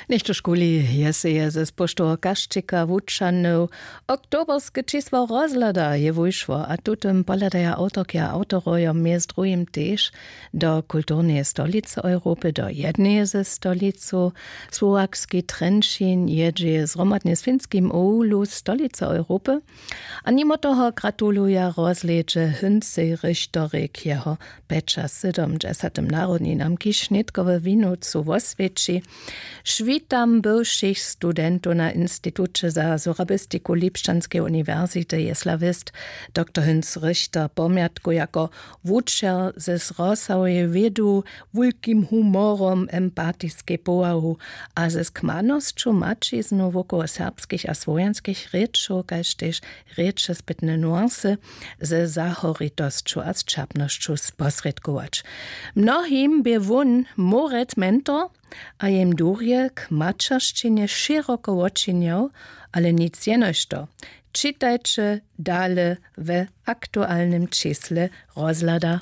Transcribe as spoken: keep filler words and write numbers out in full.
Něchtožkuli je seje ze spoštoweho kašćika wučanył. Oktoberske čisło rozhlada je wušło a tutym pohledaja awtorki a awtorojo mjez druhim tež do kulturneje stolicy europy do jedneje ze stolicow. Słowakski trenčin jědźeje zhromadnje z finskim oulu stolicy europy. A nimo toho gratuluja rozhlědźe hyncej richtorej k jeho pjećasydomdźesatym narodninam kiž nětkowe winowcu woswěći. Šwitam bywšich studentow na instituće za sorabistiku lipšćanskeje uniwersity je slawist doktor hync richter pomjatku jako wučer ze zrosaweje wědu, wulkim humorom empatiskej powahu a ze skmanosću maćiznu wokoło serbskich a słowjanskich rěčow kaž tež rěčespytne nuancy ze zahoritosću a sćerpnosću sposrědkować. Mnohim bě wón moret mentor a jim durje k maćeršćinje šěroko wočinjał. Ale nic jenož to čitajće dale we aktualnym čisle rozhlada.